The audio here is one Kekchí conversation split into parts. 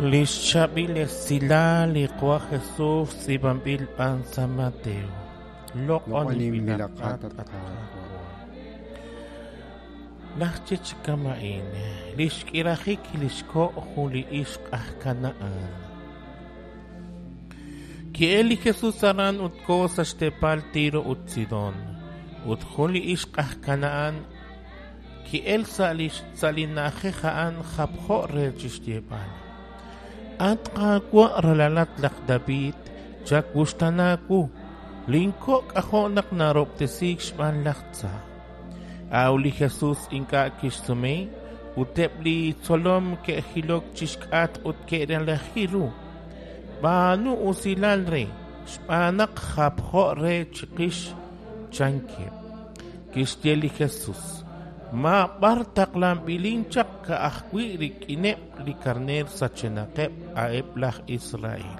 Li xchaab'il esilal li Qaawa' Jesus tz'iib'anb'il b'an sa' Mateo. Loq'oninb'ilaqat, at Qaawa'. Laj Chichkama'in, li xk'irajik li xko' jun li ixq aj Kanahán. Ki'elk li Jesus aran ut koho sa' xteepal Tiro ut Sidón. Ut jun li ixq aj Kanahán ki'elk sa' li na'ajej a'an japjo re chi xyeeb'al: At Qaawa', ralalat laj David, chawuxtaana wu, linko' k'ajo' naq narahob'tesiik xb'aan laj tza. A'ut li Jesus ink'a' kixsume, ut eb' li xtzolom ke'jilok chi xk'atq ut ke'relaji ru: B'aanu usilal re, xb'aan naq japjo re chiqix, chankeb'. Kixye li Jesus: Ma b'ar taqlanb'ilin chaq ka'ajwi' rik'ineb' li karneer sachenaqeb', a'eb' laj Israel.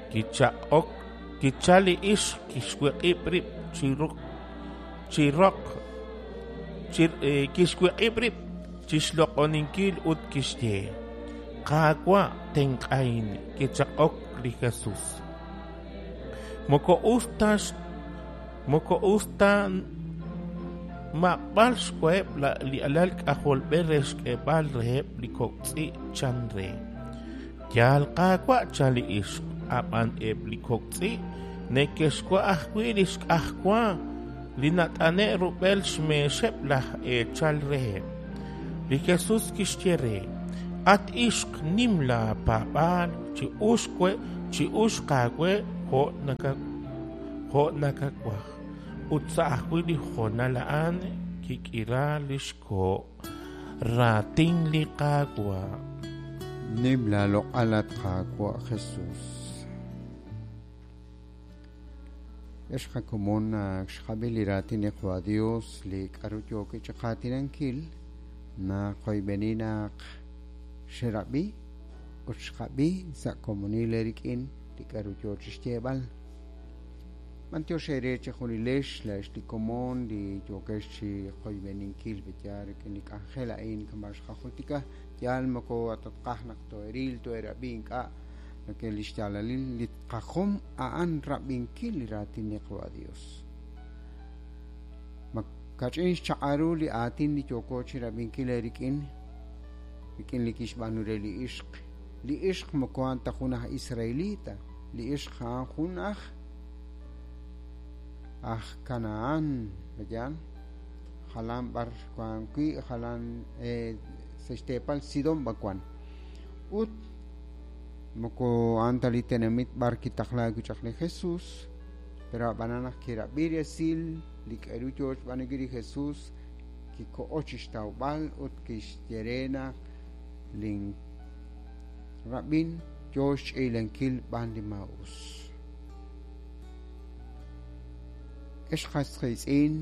Kichaq'ok, kichalk li ixq, kixwiq'ib' rib' chi roq, kixwiq'ib' rib' chi xloq'oninkil ut kixye: Qaawa', tenq'ahin. Kichaq'ok li Jesus: Moko us ta xmaq'b'al xwaheb' li alal k'ajolb'ej re xk'eeb'al reheb' li kok' tz'i', chan re. Yaal, Qaawa', chan li ixq, ab'an eb' li kok' tz'i' neke'xwa' ajwi' li xk'ajwa li nat'ane'k rub'el xmeexeb' laj eechal reheb'. Li Jesus kixye re: At ixq, nim laapaab'aal, chi'uxq aawe jo' nakawaj. Ut sa' ajwi' li honal a'an kik'iraak li xko'. Raatin li Qaawa'. Nim laaloq'al, at Qaawa' Jesus. Ex qakomon, ak xqab'i li raatin li Qaawa' Dios li k'aru yookeb' chi qaatinankil, naqoyb'eni naq xerab'i ut xqab'i sa' komonil eerik'in li k'aru yoo chi xyeeb'al. B'antiox eere chejunilex laa'ex li komon li yookex chi qoyb'eninkil pe'yaal rik'in li k'anjel a'in kama' xqajultika. Yaal moko tatqaj naq too'eril, too'erab'i ink'a' nake li xyaalalil li qajom a'an rab'inkil li raatin li Qaawa' Dios. Ma kach'in xchaq'al ru li aatin li yooko chi rab'inkil eerik'in rik'in li kixb'aanu re li ixq. Li ixq moko a'an ta jun aj Israelita, li ixq a'an jun aj aj Kanahán, pe'yaal? Jalan b'ar wank wi', jalan sa' xteepal Sidón b'ar wank. Ut moko a'an ta li tenamit b'ar kitaqlaak wi' chaq li Jesús, pero ab'anan naq kirab'i resil li k'aru yo xb'aanunkil li Jesús, kikoho chi xtawb'al ut kixye re naq lin rab'in yo xch'iilankil b'an li maa'us. Ex qas qiitz'in,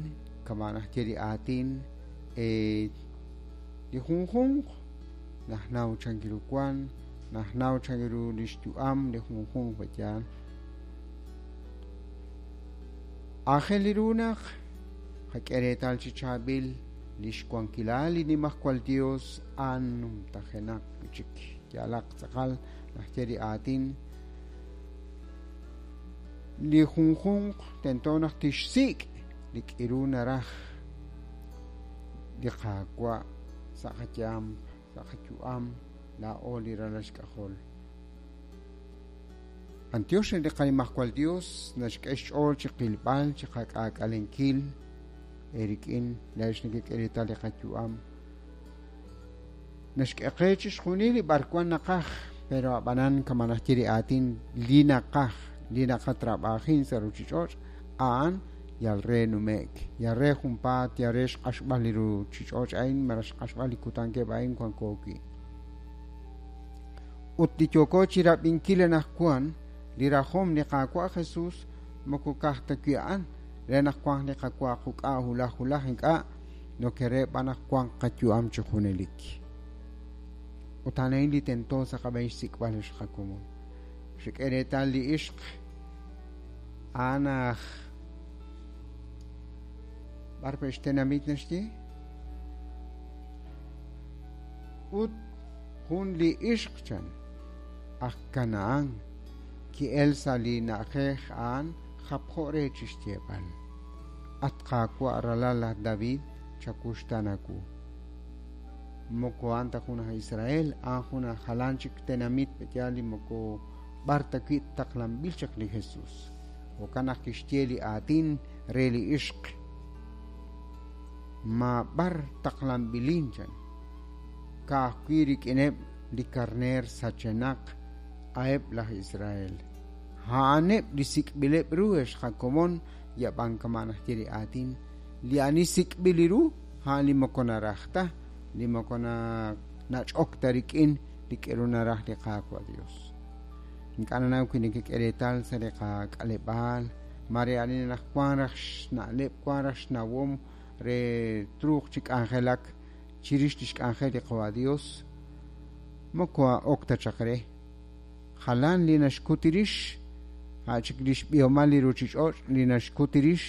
kama' naxye li aatin, li junjunq naxnaw chankiru wank, naxnaw chankiru li xyu'am li junjunq pe'yaal. Aajel ru naq qak'e reetal chi chaab'il li xwankilal li Nimajwal Yos a'an numtajenaq wi' chik. Yaalaq tz'aqal naxye li aatin, li junjunq tento naq tixsik' li k'iru naraj li Qaawa' sa' qayaam, sa' qayu'am, laa'o li ralal xk'ajol. B'antiox re li qaNimajwal Dios naxk'e xch'ool chi qilb'al, chi qak'aak'alenkil eerik'in laa'ex nekek'e reetal li qayu'am. Naxk'e qe chixjunil li b'arwan naqaj, pero ab'anan kama' naxye li aatin, li naqaj, li naqatrab'ajin sa' ruuchich'och', a'an yal re nume'k, yal re junpaat, yal re xq'axb'al li ruuchich'och' a'in malaj xq'axb'al li kutankeb' a'in wanko wi'. Ut li yooko chi rab'inkil anaqwan, li rajom li Qaawa' Jesus moko ka'aj ta wi' a'an re naq wanq li qawa quk'a' wulaj wulaj, ink'a', nokere b'an naq wanq qayu'am chi junelik. Ut a'an a'in li tento sa' qab'een xsik'b'al ex qakomon. Xek'e reetal li ixq a'an aj b'ar pe' xtenamit naxye? Ut jun li ixq chan. aj Kanahán ki'elk sa' li na'ajej a'an japjo re chi xyeeb'al: At Qaawa', ralal laj David, chawuxtaana wu. Moko a'an ta jun aj Israel, a'an jun aj jalan chik tenamit yaal li moko b'ar ta wi' taqlanb'il chaq li Jesús. Jo'kan naq kixye li aatin re li ixq: Maab'ar taqlanb'ilin, chan, ka'ajwi' rik'ineb' li karneer sachenaq a'eb' laj Israel. A'aneb' li sik'b'ileb' ru, ex qakomon, yab'an kama' naxye li aatin, li ani sik'b'il li ru, a'an li moko naraj ta, li moko nach'ok ta rik'in li k'aru naraj li Qaawa' Dios. Ink'a' nanaw wi nekek'e reetal sa' li qak'aleb'aal, mare ani naq wank raj xna'leb', wank raj xnawom re truuq chi k'anjelak chirix li xk'anjel li Qaawa' Dios, moko ok ta chaq re. Jalan li naxkut rix, a' chik li xb'ihomal li ruuchich'och' li naxkut rix.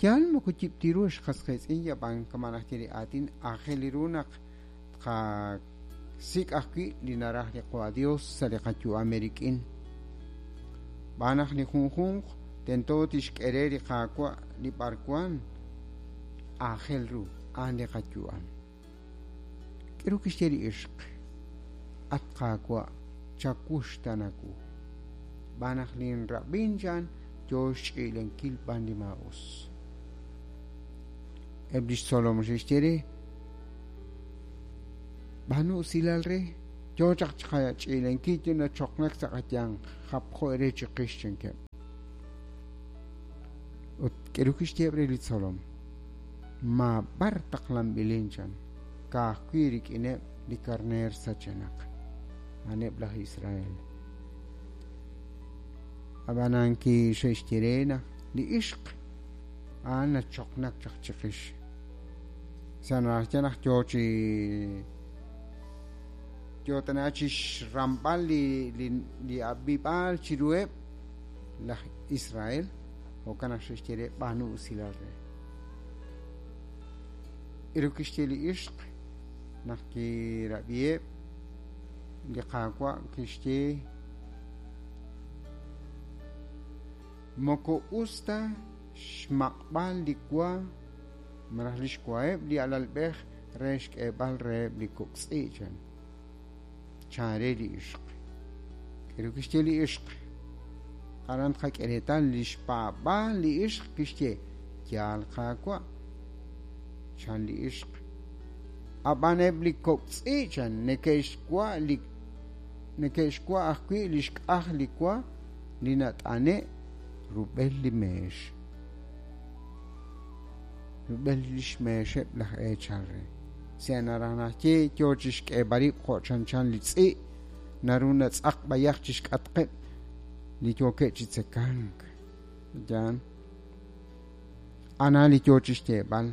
Yaal moko yib' ru ex qas qiitz'in, yab'an kama' naxye li aatin, aajel ru naq tqasik' ajwi' li naraj li Qaawa' Dios sa' li qayu'am eerik'in. Xb'aan naq li junjunq tento tixk'e re li Qaawa' li b'arwan aajel ru, a'an li qayu'am. K'aru kixye li ixq? At Qaawa', chawuxtaana wu. Xb'aan naq linrab'in, chan, yo xch'i'lenkil b'an li maa'us. Eb' li xtzolom xe'xye re: B'aanu usilal re, yo chaq chiqach'i'lenkil, yo nachoqnak sa' qayanq, japjo re chiqix, chankeb'. Ut k'aru kixye re li tzolom? Maab'ar taqlanb'ilin, chan, ka'ajwi' rik'ineb' li karneer sachenaq, a'aneb' laj Israel. Ab'anan kixe'xye re naq li ixq a'an nachoqnak chaq chiqix. Sa' naxye naq yo chi yo tana chi xramb'al li ab'ib'aal chiruheb' laj Israel, jo'kan naq xe'xye re b'aanu usilal re. K'aru kixye li ixq naq kirab'iheb' li Qaawa' kixye: Moko us ta xmaq'b'al li wa malaj li xwaheb' li alalb'ej re xk'eeb'al reheb' li kok' tz'i', chan. Chan re li ixq. K'aru kixye li ixq? Aran tqak'e reetal li xpaab'aal li ixq kixye: Yaal Qaawa', chan li ixq. Ab'an eb' li kok' tz'i', chan, neke'xwa ajwi' li xk'aj li wa li nat'ane' rub'el li meex. Rub'el li xmeexeb' laj eechal re. Sa' naraj naxye yo chi xk'eeb'al rib' jo' chanchan li tz'i' naru natz'aq b'ayaq chi xk'atqeb' li yookeb' chi tzekank. Yaan. Ana li yo chi xyeeb'al.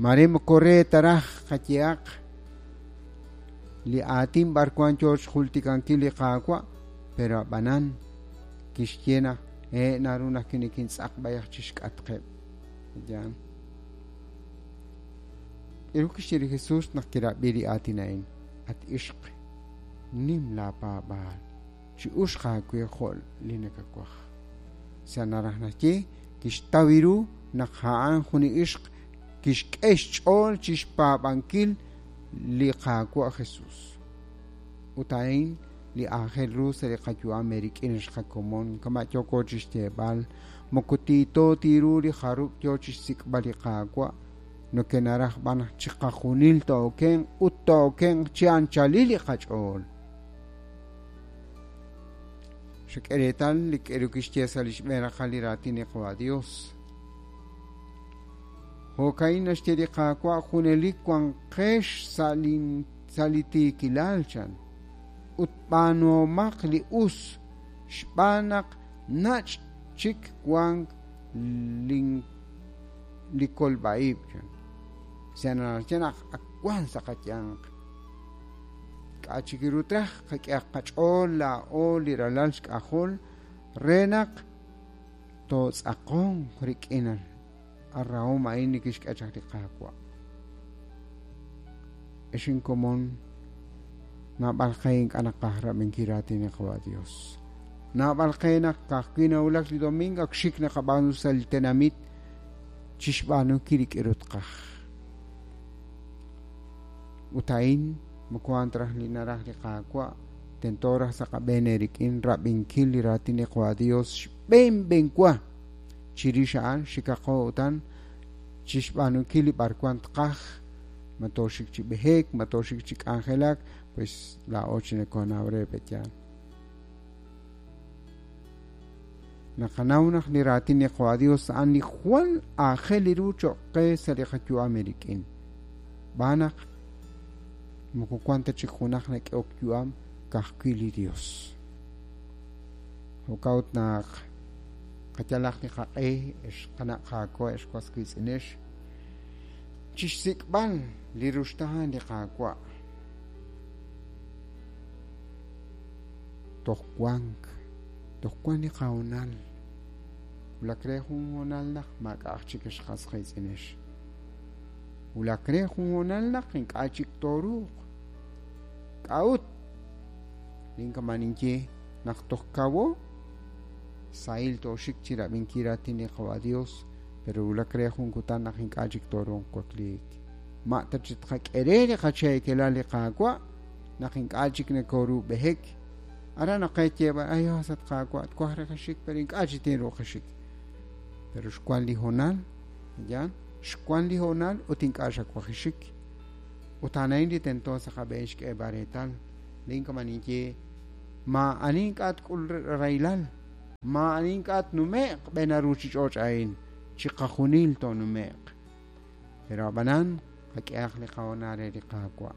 Mare moko re taraj qayehaq li aatin b'arwan yo xjultikankil li Qaawa', pero ab'anan kixye naq naru naq kinikintz'aq b'ayaq chi xk'atqeb'. Yaan. K'aru kixye li Jesús naq kirab'i li aatin a'in? At ixq, nim laapaab'aal, chi'uxq aawe jo' li nakawaj. Sa' naraj naxye kixtaw ru naq a'an jun li ixq kixk'e xch'ool chi xpaab'ankil li Qaawa' Jesús. Ut a'in li aajel ru sa' li qayu'am eerik'in ex qakomon, kama' yooko chi xyeeb'al, moko tiito tiru li jarub' yo chi xsik'b'al li Qaawa', nokenaraj b'an chiqajunil tookenq ut tookenq chi anchalil li qach'ool. Xak'e reetal li k'aru kixye sa' li xb'een raqal li raatin li Qaawa' Dios. Jo'ka'in naxye li Qaawa' junelik wanqex sa' li tiikilal, chan, ut b'aanuhomaq li us, xb'aan naq nach' chik wank li kolb'a'ib', chan. Sa' naxye naq ak wank sa' qayanq. K'a' chik ru traj qak'ehaq qach'ool laa'o li ralal xk'ajol re naq tootz'aqonq rik'in arrahom a'in li kixk'e chaq li Qaawa'. Ex inkomon, Naab'al qe ink'a' naqaj rab'inkil raatin li Qawa' Dios. Naab'al qe naq ka'ajwi' nawulak li domingo ak xik naqab'aanu sa' li tenamit chixb'aanunkil li k'aru tqaj. Ut a'in moko a'an ta raj li naraj li Qaawa', tento raj sa' qab'een eerik'in rab'inkil li raatin li Qawa' Dios xb'een b'enwa. Chirix a'an xikaqo utan chixb'aanunkil li b'arwan tqaj, ma tooxik chi b'ehek, ma tooxik chi k'anjelak, pues laa'o chi nakoonaw re pe'yaal. Naqanaw naq li raatin li Qawa' Dios a'an li jwal aajel ru cho'q qe sa' li qayu'am eerik'in. Xb'aan naq moko wan ta chik junaq nak'ehok yu'am ka'ajwi' li Dios. Jo'kan ut naq qayalaq li qaq'e, ex qana' qaawa', ex was wiitz'inex, chixsik'b'al li ruxtaan li Qaawa'. Toj wank, toj wank li qahoonal. Wulak re jun hoonal naq maak'a'aq chik ex qas qiitz'inex. Wulak re jun hoonal naq ink'a' chik tooruuq. K'a'ut? Linkaman ninye naq toj kawo, sahil tooxik chi rab'inkil raatin li Qawa' Dios, pero wulak re jun kutan naq ink'a' chik tooruuq wakliik. Ma ta chi tqak'e re li qacheekelal li Qaawa' naq ink'a' chik nakooru b'ehek. Aran naq qe yeeb'al, ay, sat Qaawa', twaj re qaxik, pero ink'a' chik tinruuq qaxik. Pero xwan li hoonal, ya, xwan li hoonal ut ink'a' xawajixik. Ut a'an li tento sa' qab'een xk'eeb'al reetal. Linkaman ninye, maa'ani ink'a' tk'ul rahilal, maa'ani ink'a' tnume'q b'een ruuchich'och' a'in, chiqajunil toonume'q. Pero ab'anan qak'ehaq li qahoonal re li Qaawa'.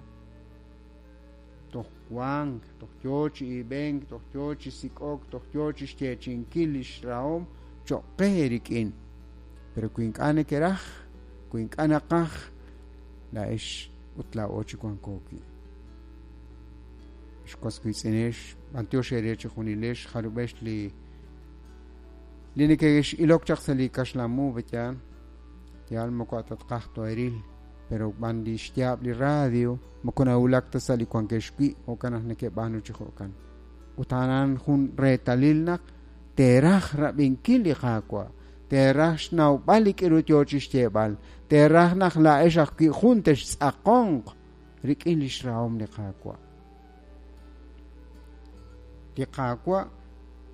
Toj wank, toj yoo chi iib'enk, toj yoo chi sik'ok, toj yoo chi xyeechi'inkil li xrahom cho'q qe eerik'in. Pero wi ink'a' nekeraj, wi ink'a' naqaj, laa'ex ut laa'o chi wanko wi'. Ex was wiitz'inex, b'antiox eere chijunilex, jarub'ex li li neke'x'ilok chaq sa' li kaxlamu pe'yaal, yaal moko atatqaj toeril, pero b'an li xyaab' li radio moko nawulak ta sa' li wankex wi', jo'kan naq neke'b'aanu chi jo'kan. Ut a'an jun reetalil naq teeraj rab'inkil li Qaawa', teeraj xnawb'al li k'aru yoo chi xyeeb'al, teeraj naq laa'ex ajwi' jun textz'aqonq rik'in li xrahom li Qaawa'. Li Qaawa'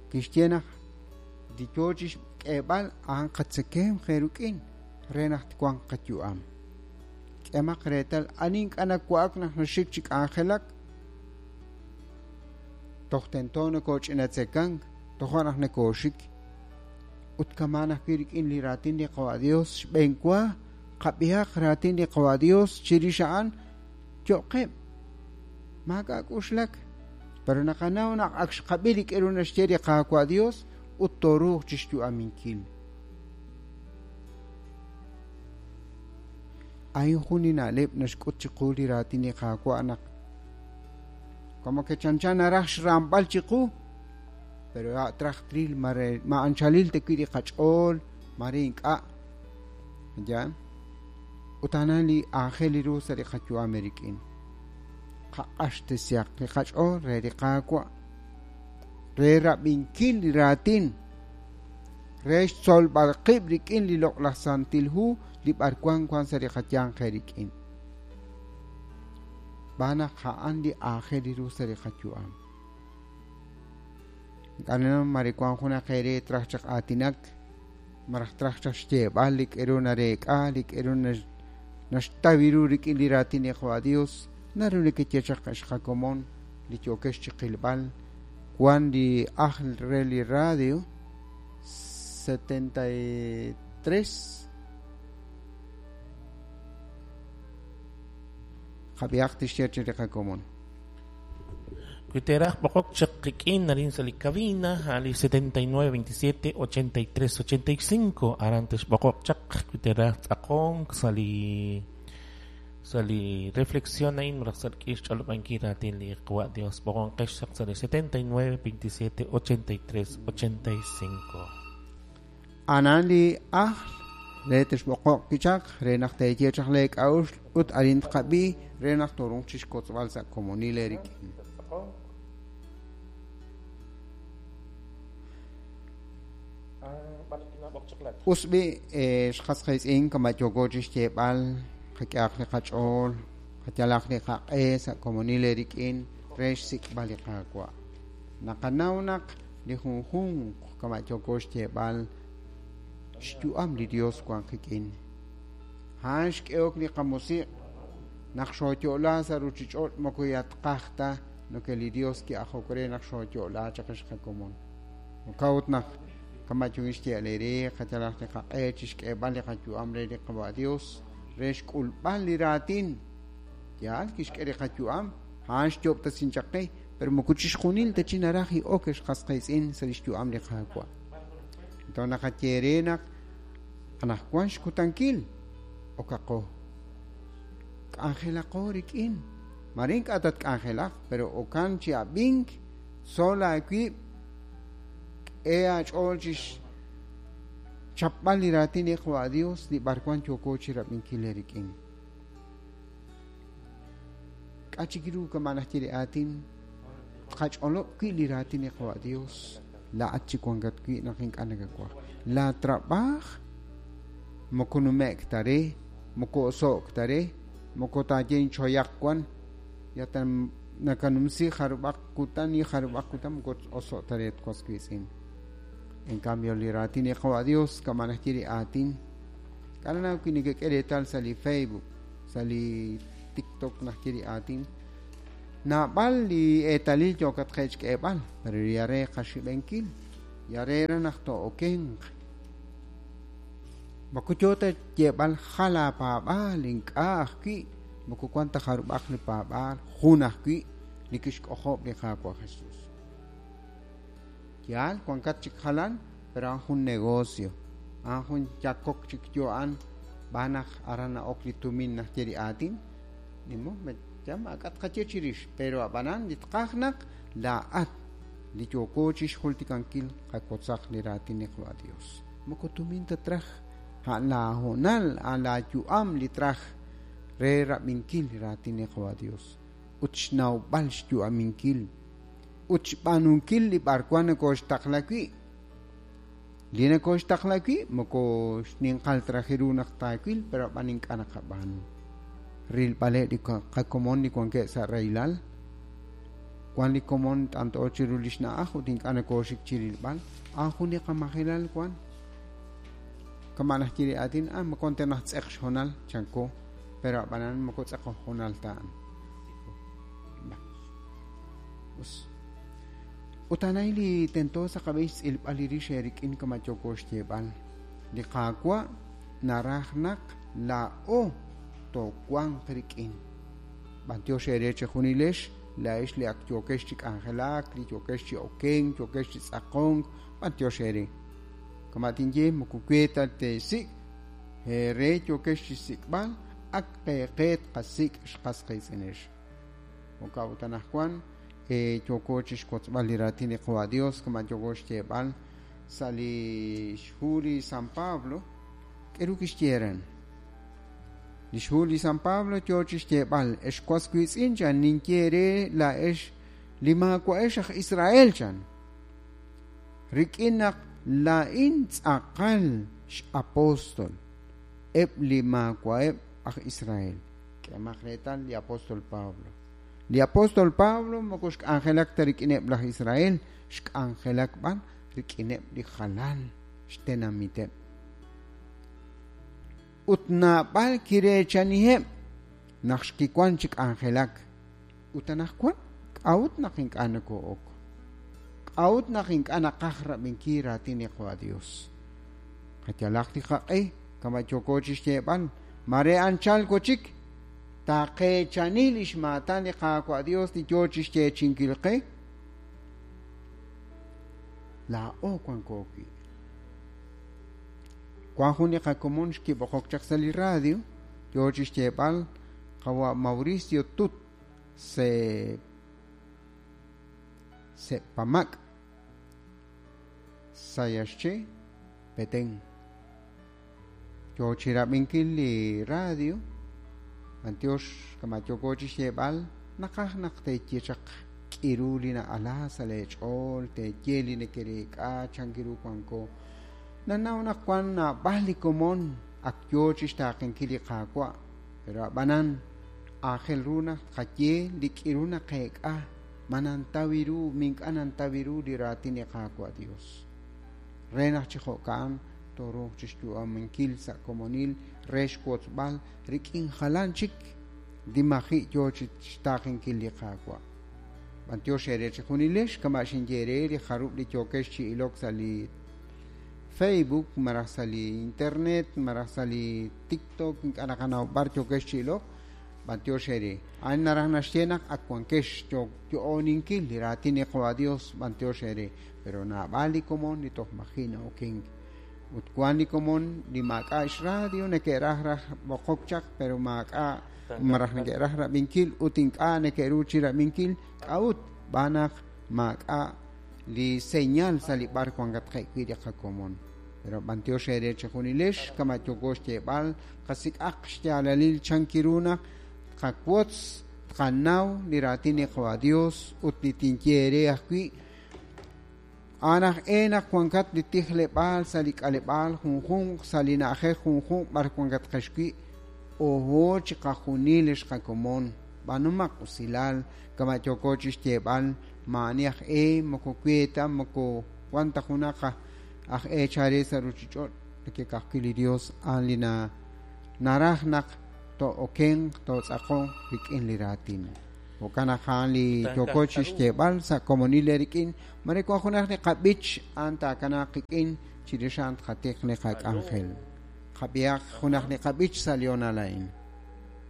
kixye naq li yoo chi xk'eeb'al a'an qatzekemq eerik'in re naq twanq qayu'am. K'emaq reetal ani ink'a' nawa'ak naq naxik chi k'anjelak, toj tento nakooch'inatzekank, toja' naq nakooxik. Ut kamaan ajwi' rik'in li raatin li Qawa' Dios, xb'eenwa qab'ihaq raatin li Qawa' Dios chirix a'an yo'qeb'. Maak'a' k'uxlak, pero naqanaw naq ak xqab'i li k'aru naxye li Qaawa' Dios ut tooruuq chi xyu'aminkil. A'in jun li na'leb' naxk'ut chiqu li raatin li Qaawa' naq como que chanchan naraj xramb'al chiqu, pero a' traj tril ma anchalil ta wi' li qach'ool, mare ink'a'. Ya. Ut a'an li aajel ru sa' li qayu'am eerik'in. Qaq'axtesihaq li qach'ool re li Qaawa', re rab'inkil li raatin, re xtzolb'al qib' rik'in li loq'laj Santil Hu li b'arwan wan sa' li qayanq eerik'in. Xb'aan naq a'an li aajel ru sa' li qayu'am. Ink'a' mare wan junaq eere traj chaq aatinak, maraj traj chaq xyeeb'al li k'aru nareek'a, li k'aru naxtaw ru rik'in li raatin li Qawa' Dios, naru nekeye chaq xqakomon li yookex chi qilb'al. Wan li ajl re li radio 73 qab'ihaq tixye chi li qakomon. Wi teeraj b'oqok chaq qik'in arin sa' li cabina a li 79 27 83 85 aran texb'oqoq chaq wi teeraj tz'aqonk sa' li reflexión a'in malaj sa' li k'ix xch'olob'ankil raatin li Qawa' Dios b'oqonqex chaq sa' li 79 27 83 85. Anan li ajl Re texb'oqoq kichaq re naq teeye chaq leek'a'uxl ut arin tqab'i re naq torunq chixkotzb'al sa' komonil eerik'in. Us b'i' xqas qiitz'in kama' yooko chixyeeb'al qak'ehaq li qach'ool, qayalaq li qaq'e sa' komonil eerik'in re xsik'b'al li Qaawa'. Naqanaw naq li junjunq kama' yooko xyeeb'al xyu'am li Dios wan qik'in. A'an xk'ehok li qamusiq' naq xooyo'la sa' ruchich'och' moko yatqaj ta noke li Dios ki'ajok re naq xooyo'la chaq ex qakomon. Jo'kan ut naq kama' yo'in xye'al eere qayalaq li qaq'e chixk'eeb'al li qayu'am re li Qawa' Dios re xk'ulb'al li raatin. Yaal kixk'e li qayu'am, a'an xyo'ob'tesin chaq qe, pero moko chixjunil ta chi naraj i'ok ex qas qiitz'in sa' lix yu'am li Qaawa'. Entonces naqaye re naq anaqwan xkutankil okaqo. K'anjelaqo rik'in. Mare ink'a' tatk'anjelaq, pero okan chi ab'ink, tzol aawib', k'e aach'ool chixchapb'al li raatin li Qawa' Dios li b'arwan yooko chirab'inkil eerik'in. K'a' chik ru kama' najye li aatin tqach'olob' wi' li raatin li Qawa' Dios laa'at chi wankat wi' naq ink'a' nakawaj. La trab'aaj moko nume'k ta re, moko oso'k ta re, moko taaye inchoyaq wan, ya ta nakanumsi jarub'aq kutan y jarub'aq kutan moko oso' ta re twas wiitz'in. En cambio li raatin li Qawa' Dios kama' najye li aatin k'a'ru wi' nekek'e reetal sa' li Facebook, sa' li TikTok najye li aatin naab'al li eetalil yookat qe'xk'eeb'al, pero ya re qaxib'enkil, ya re ra naq to'okenq. Moko yo ta yeeb'al jal aapaab'aal ink'a' ajwi', moko wan ta jarub'aq li paab'aal, jun ajwi' li kixk'ojob' li Qaawa' Jesús. Yaal wankat chik jalan, pero a'an jun negocio, a'an jun yakok chik yo a'an b'an naq aran na'ok li tumin najye li aatin, nimo ya maak'a' tqaye chirix, pero ab'anan li tqaj naq laa'at li yooko chixjultikankil qakotzaq li raatin li Qawa' Dios. Moko tumin ta traj, a'an laahoonal, a'an laayu'am li traj re rab'inkil li raatin li Qawa' Dios ut xnawb'al xyu'aminkil ut xb'aanunkil li b'arwan nokoxtaqla wi'. Li nokoxtaqla wi' moko xninqal traj ru naq taawil, pero ab'an ink'a' naqab'aanu. Rilb'aleb' li qakomon li wankeb' sa' rahilal, wan li komon t'ant'o chiru li xna'aj ut ink'a' nokoxik chi rilb'al, a'an jun li qamajilal wan. Kama' najye li aatin, moko te naj tz'eq xhoonal chanko, pero ab'anan moko tz'eq hoonal ta a'an. Us. Ut anay li tento sa' qab'een xtz'ilb'al li rix eerik'in kama' yooko xyeeb'al. Li Qaawa' naraj naq laa'o toowanq rik'in. B'antiox eere chejunilex, laa'ex li ak yookex chi k'anjelak, li yookex chi okenk, yookex chi tz'aqonk, b'antiox eere. Kama' tinye moko we ta teesik', eere yookex chi xsik'b'al, ak qeeqe tqasik' xqas qiitz'inex. Jo'kan ut anaqwan yooko chixwotzb'al li raatin li Qawa' Dios kama' yooko xyeeb'al sa' li xhu li San Pablo, k'eru kixye ren. Li xhu li San Pablo yo chixyeeb'al, ex was wiitz'in chan ninye re laa'ex li maawa'ex aj Israel chan. Rik'in naq laa'in tz'aqal x'apóstol eb' li maawa'eb' aj Israel. K'emaq reetal li apóstol Pablo. Li apóstol Pablo moko xk'anjelak ta rik'ineb' laj Israel, xk'anjelak b'an rik'ineb' li jalan xtenamiteb'. Ut naab'al kireechaniheb' naq xkiwan chi k'anjelak. Ut anaqwan k'a'ut naq ink'a' noko'ok? K'a'ut naq ink'a' naqaj rab'inkil raatin li Qawa' Dios? Qayalaq li qaq'e kama' yooko chixyeeb'al, mare anchal wachik taqeechani li xmaatan li Qaawa' Dios li yo chixyeechinkil qe. Laa'o wanko wi'. Wan jun li qakomon xkib'oqok chaq sa' li radio, yo chixyeeb'al Qawa' Mauricio Tut se Sepamak Sayaxche Petén. Yo chi rab'inkil li radio, b'antiox kama' yooko chi xyeeb'al, naqaj naq teeye chaq k'iru li na'ala sa' lee ch'ool, teeye li nekereek'a chan ru wanko. Nanaw naq wan naab'al li komon ak yo chi xtaaqenkil li Qaawa', pero a'b'anan aajel ru naq tqaye li k'iru naqeek'a, ma nantaw ru, mi ink'a' nantaw ru li raatin li Qaawa' Dios. Re naq chi jo'ka'an tooruuq chi xyu'aminkil sa' komonil re xwotzb'al rik'in jalan chik li maji' yo chi xtaaqenkil li Qaawa'. B'antiox eere chi junilex kama' xinye eere li jarub' li yookex chi ilok sa' li Facebook, maraj sa' li internet, maraj sa' li TikTok, ink'a' naqanaw b'ar yookex chi ilok, b'antiox eere. A'in naraj naxye naq ak wankex yo'oninkil li raatin li Qaawa' Dios, b'antiox eere. Pero naab'al li komon li toj maji' na'okenk. Ut wan li komon li maak'a' xradio neke'raj raj b'oqok chaq, pero maak'a' maraj neke'raj rab'inkil ut ink'a' neke'ru chi rab'inkil, k'a'ut b'aan naq maak'a' li señal sa' li b'ar wankatqe' wi' li qakomon. Pero b'antiox eere chi junilex kama' yooko xyeeb'al qasik'aq xyaalalil chan kiru naq tqawotz tqanaw li raatin li Qaawa' Dios ut li tinye eere ajwi' a'an aj e naq wankat li tijleb'aal sa' li k'aleb'aal junjunq sa' li na'ajej junjunq b'ar wankatqex wi' oho chi qajunil xqakomon b'anumaq usilal kama' yooko chi xyeeb'al maa'ani aj e moko weeta moko wan ta junaq aj e chare sa' ruchich'och' nekekajwi' li Dios a'an li naraj naq to'okenq to'tz'aqonq rik'in li raatin. Jo'kan naq a'an li yooko chi xyeeb'al sa' komonil rik'in mare wan junaq li qab'ich a'an taakanaaq qik'in chirix a'an tqatiq li qak'anjel. Qab'ihaq junaq li qab'ich sa' li honal a'in.